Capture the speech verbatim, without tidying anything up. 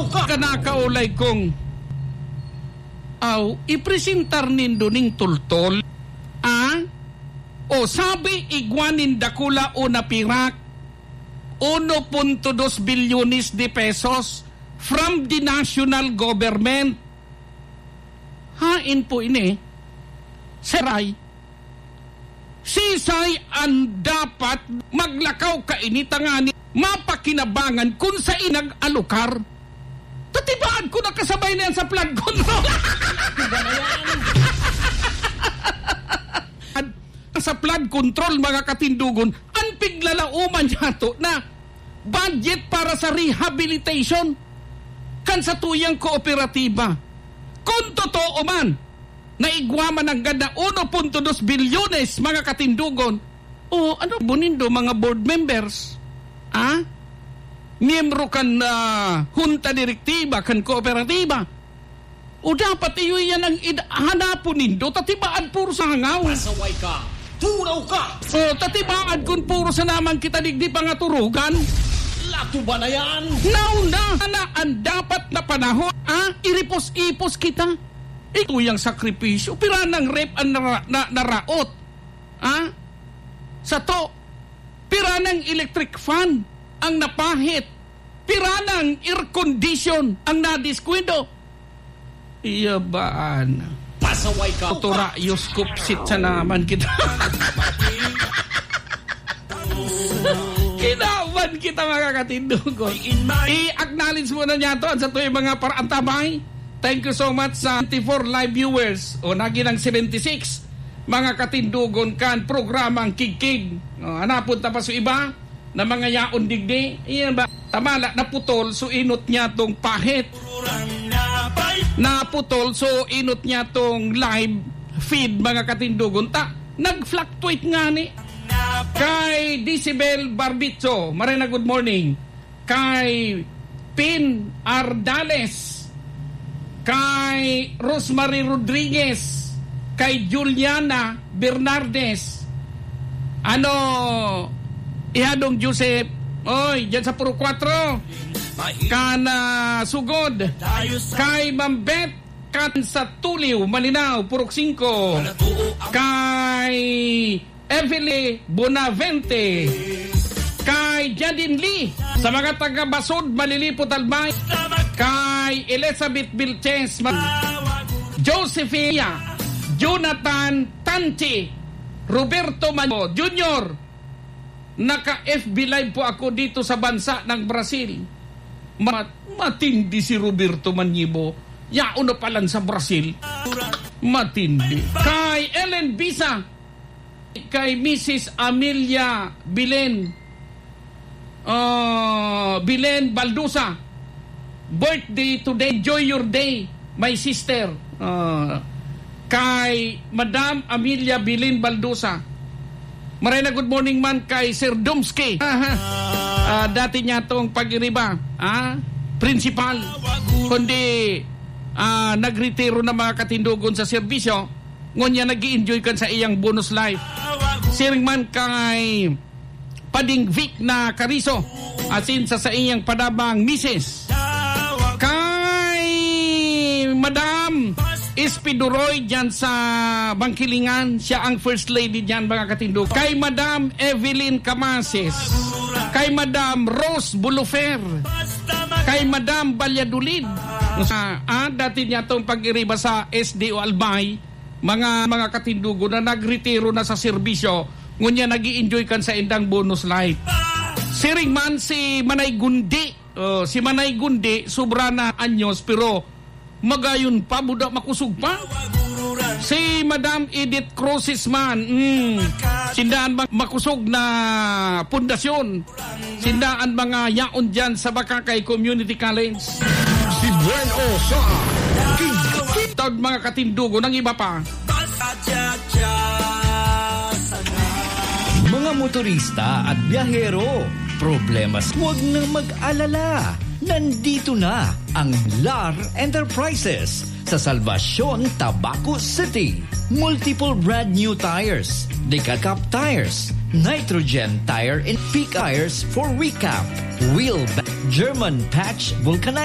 Kanakaulay kong, aw, ipresentar nindo ning tultol, ah? O sabi, igwa nin dakula o napirak, uno punto dos bilyones de pesos from the national government. Hain po ini, Seray. Sisay an dapat maglakaw kaini tangani mapakinabangan kun saen nag-alokar? Tatibaad ko nakasabay na yan sa flood control. Sa flood control, mga katindogon, an piglalauman niyato na budget para sa rehabilitation kan satuyang kooperatiba. Kun totoo man na igwa man nanggad na uno punto dos bilyones, mga katindogon, o ano po nindo, mga board members? Ah? Miyembro kan, ah, hunta direktiba kan kooperatiba? O dapat iyo yan ang id-, hanapon nindo, tatibaad puro sa hangaw. Pasaway ka, turaw ka. O, tatibaad kun puro sa naman kita digdi pangaturugan. Lato ba na yan? Nauna na an dapat na panahon, ah, iripos-ipos kita. Ito yang sakripisyo, pira nang ref an nara-, na, naraot. Ah? Sato, pira nang electric fan ang napahit? Pira nang air condition ang nadiskwento? Iya baan? Pasaway ka. Oto rayos, kupsit sa naman kita. Kinawan kita, mga katindogon. I-acknowledge muna niyato an satuyang mga paraantabay. Thank you so much sa twenty-four live viewers. O, naging ang seventy-six. Mga katindogon kan programang Kigkig. O, hanapon ta pa so iba na mga yaon digdi. Iyan ba? Tamala, naputol so inot niya tong pahit. Naputol so inot niya tong live feed, mga katindogon. Ta, nag-fluctuate nga ni. Kay Decibel Barbicho, Marina, good morning. Kay Pin Ardales, kay Rosemary Rodriguez, kay Juliana Bernardes. Ano, Ihadong Joseph, oy, dyan sa Purok Kwatro. Kan, ah, Sugod. Kay Ma'am Beth, kan sa Tuliw, Malinao, Purok Singko. Kay Evelyn Bonavente, kay Jadine Lee, sa mga taga Basod, Malilipot, Albay, kay Elizabeth Vilches, Ma-, Josephia, Jonathan Tanchi, Roberto Manyo Junior, naka-F B Live po ako dito sa bansa ng Brazil. Ma-, matindi si Roberto Manyibo. Yaon na palan sa Brazil. Matindi. Kay Ellen Bisa, kay Missus Amelia Bilen, ah, Bilen Baldusa, birthday today, enjoy your day, my sister. Ah, kay Madam Amelia Bilen Baldusa. Maray na good morning man kay Sir Domski. Aha. Ah, dati niya tong pag-iriba, ah, principal. Kundi, ah, nagretiro na, mga katindogon, sa serbisyo. Ngunyan nag-i-enjoy kan sa iyang bonus life. Siring man kay Pading Vic na Kariso, asin sa saiyang padabang misis. Kay Madam Espiduroy dyan sa Bangkilingan, siya ang first lady dyan, mga katindog. Kay Madam Evelyn Camases, kay Madam Rose Bulufer, kay Madam Valladolid. Sa, ah, dati niya tong pag-iriba sa S D O Albay, mga, mga katindugo na nagretiro na sa serbisyo, ngunyan nag-i-enjoy kan sa indang bonus life. Siring man si Manay Gundi. Oh, si Manay Gundi, sobra na anyos, pero magayon pa, buda makosog pa. Si Madam Edith Cruzes man, mm, sinda an ma-, makosog na pundasyon. Sinda an mga yaon dyan sa Bacacay Community College. Si Buen O sa King. Taod mga katindugo ng iba pa. Mga motorista at biyahero, problemas, huwag nang mag-alala. Nandito na ang Lar Enterprises sa Salvacion, Tabaco City. Multiple brand new tires, Deca Cup tires, nitrogen tire and P K tires for recap, wheel ba-, German patch vulcanite.